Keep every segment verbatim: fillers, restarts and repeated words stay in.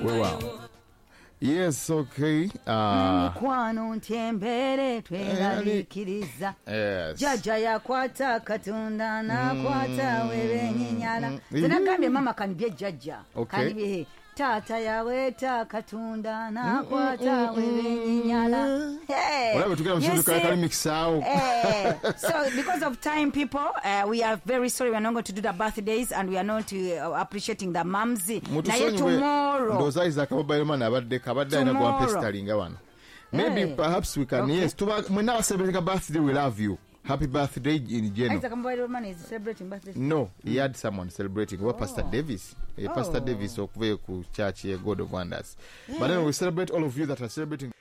Weewaawo. Yes, okay. Uh, Mikwano ntembere tweraliikiriza. Yes. Jjajja yakwata Katonda n'akwata webenyinyala. Mm. Zinagambye mama kanibye jjajja. Okay. Kanibye taata yaweeta Katonda n'akwata webenyinyala. Hey. Olaba tugenda mu You kintu see? kali mixaawo. Eh, so because of time, people, uh, we are very sorry we are not going to do the birthdays and we are not uh, appreciating the moms. Naye Mutusonyiwe. tomorrow. Ndowooza Isaac mobile money abadde kabadde alina Tomorrow. gwampesitalinga wano. Maybe Hey. perhaps we can Okay. yes tuba mwenna celebrating a birthday, we love you. Happy birthday in general. Isaac mobile money is celebrating birthday. No, he had someone celebrating. Well, Pastor Oh. Davis. Eh, Pastor Oh. Davis okuva ku church ye God of Wonders. But anyway, we celebrate all of you that are celebrating.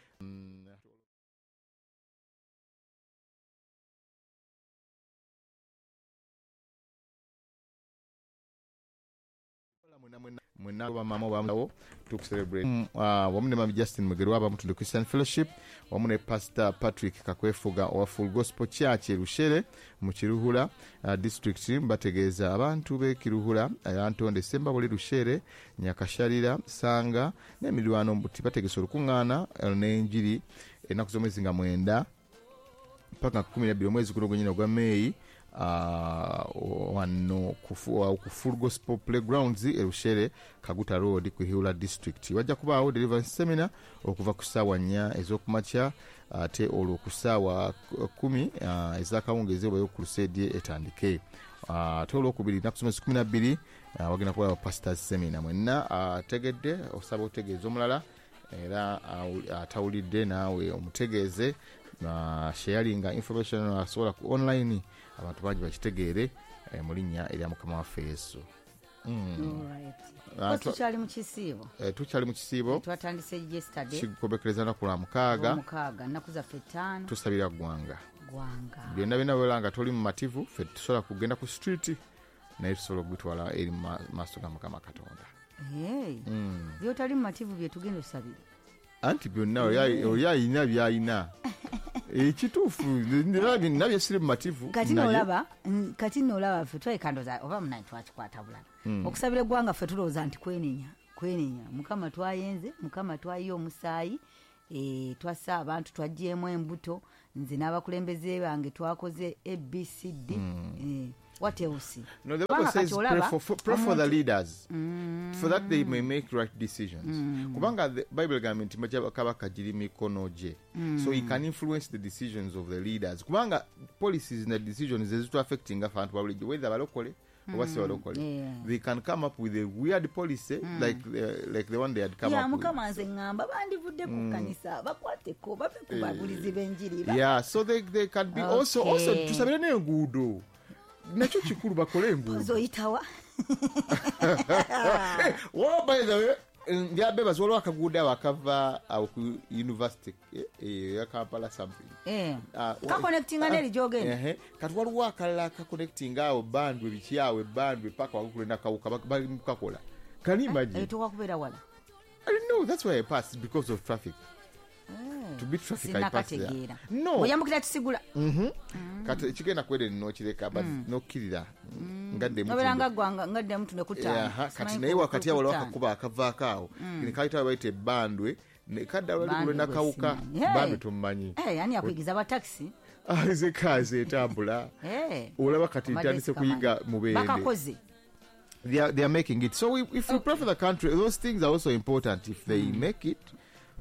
Mwenna bamama bamuwo tukucelebrate. Mm, uh, wamu ne Mami Justin Mugerwa abamu Christian Fellowship, wamu ne Pastor Patrick Kakwefuga owa Full Gospel Church e Rushere mu Kiruhura uh, district. Bategeeza abantu b'e Kiruhura, Antonde Sembabule, Rushere, Nyakasharira, Sanga n'emirwano mbuti bategese olukuŋŋaana eh, n'enjiri ennaku z'omwezi nga mwenda paka kumi na bbiri omwezi guno gwennyini ogwa Meeyi, uh, wano ku fu- ku Full Gospel Playgrounds e Rushere, Kaguta Road ku Hula District. Wajja kubaawo deliverance seminar okuva ku ssaawa nnya ez'okumakya ate olwo ku ssaawa kumi uh, ez'akawungeezi obayo crusade etandike. Uh, ate olwokubiri ennaku z'omwezi kumi na bbiri uh, wagenda kubaawo pastors seminar. Mwenna ategedde uh, osaba otegeeza omulala era uh, atawulidde naawe omutegeeze, uh, sharinga information asobola ku online abantu bangi bakitegeere eh, mu linnya erya Mukama waffe Yesu. All right. Ah, Ko twa- tukyali mu kisiibo. Eh, tukyali mu kisiibo. Twatandise yesterday. Kikobekereza lunaku lwa mukaaga. Mukaaga, nnaku zaffe ttaano. Tusabira ggwanga. Gwanga. Byonna byonna bw'olaba nga toli mumativu, ffe tusobola kugenda ku street naye tusobola okugitwala eri mu ma- maaso ga Mukama Katonda. Hey. Byotali mumativu bye tugenda osabira. Anti byonna oli oli ayina by'ayina ekituufu nabye siri mumativu Kati naye- nolaba mm, kati nolaba ffe twekandoza oba munaye twakikwata bulala. Okusabira eggwanga ffe tulowooza nti kwenenya kwenenya Mukama twayenze, Mukama twayiye omusaayi, eh, twassa abantu, twaggyemu embuto, nze n'abakulembeze bange twakoze A B C D. Eh, what else? No, the Bible Kubanga says kati pray olaba for, for, pray for the omuntu- leaders for that they may make right decisions. Kubanga the Bible egamba nti majja kabaka giri mikono gye. So he can influence the decisions of the leaders. Kubanga policies and the decisions ezitu affecting abantu ba bulijjo, whether balokole oba si balokole. Yeah. They can come up with a weird policy like the, like the one they had come Ya up with. Mukama nze ŋŋamba bandivudde ku kanisa bakwateko bave ku babulizi b'enjiri ba- Yeah, so they, they can be also also Okay. tusabire n'enguudo. Nakyo kikulu bakole enguudo. Oyitawa. Well, by the way, ndyabebaza waliwo akaguudo awo akava awo ku university eh, eh, ya Kampala something. Eh. Ah, wa- Kakonectinga n'eri gy'ogenda. Ehe. Kati waliwo akalala akaconnectinga awo Bandwe biki awo Bandwe paka waggulu nakawuka bali mu kukakola. Can you imagine? Etuuka kubeera wala. I know that's why I passed, because of traffic. To beat traffic I passed there. Sinakategeera. No. Oyambukira Kisigula. Kati ekigenda kwere nokireka but nokkirira ngadde Nobeera nga ggwanga ngadde mutunde ku ttaano. Aha, kati naye wakati awo waliwo akakuba akavaako awo ne kayita bayita ebbandwe ne kadda wali Bandwe kulwe nakawuka. gwe simanyi. Bandwe tomumanyi. Eh, ani akuyigiza abatakisi? Ah, nze kaazi etambula. Eh. Olaba kati Obadde ntandise sikamanyi. kuyiga Mubende. Bakakoze. they are, they are making it. So we, if we pray for the country, those things are also important. If they make it,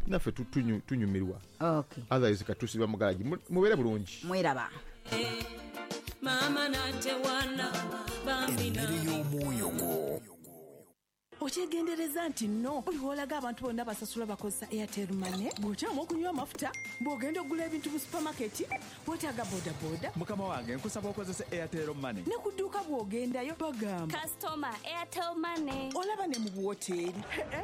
naffe tu- tunyu- tunyumirwa. Okay. Otherwise katusiba mugalagi. Mu- mubeere bulungi. Mweraba. Mama natewana bambi. Emmere y'omwoyo gwo. Okyegendereza nti nno buli lw'olaga abantu bonna basasula bakozesa Airtel Money, bw'okyama okunywa amafuta, bw'ogenda okugula ebintu mu supamaketi, weetaaga bodaboda. Mukama wange, nkusaba okozesa Airtel Money. Ne ku dduuka bw'ogendayo bagamba Customer, Airtel Money. Olaba ne mu buwoteeri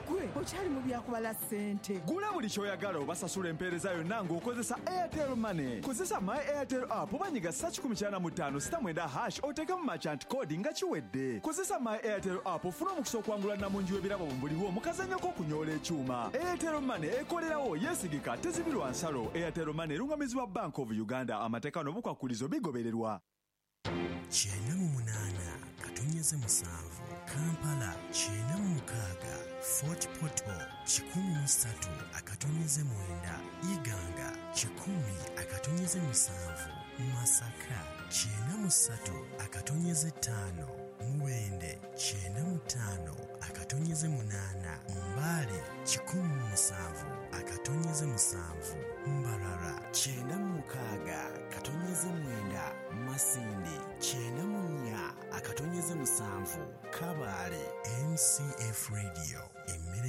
gwe okyali mu byakubala ssente. Gula buli ky'oyagala obasasula empeereza yonna ng'okozesa Airtel Money. Kozesa My Airtel app oba nyiga sa kikumi kyana mu ttaano sita mwenda hash oteekemu merchant code nga kiwedde. Kozesa My Airtel app ofune omukisa okwangula namungi w'ebirabo buliwo mu kazannyo k'okunyoola ekyuma. Airtel Money ekolerawo, yeesigika, tezibirwa nsalo. Airtel Money erungamizibwa Bank of Uganda. Amateeka n'obukwakulizo bigobererwa. Kyenda mu munaana katonyeze musanvu Kampala, kyenda mu mukaaga. Fort Portal kikumi mu ssatu akatonyeze mwenda, Iganga kikumi akatonyeze musanvu, Masaka kyenda mu ssatu akatonyeze ttaano, Mubende kyenda mu ttaano akatonyeze munaana, Mbale kikumi mu musanvu akatonyeze musanvu, Mbarara kyenda mu mukaaga katonyeze mwenda, Masindi kyenda mu nnya akatonyeze musanvu, Kabaale. M C F Radio, emmere.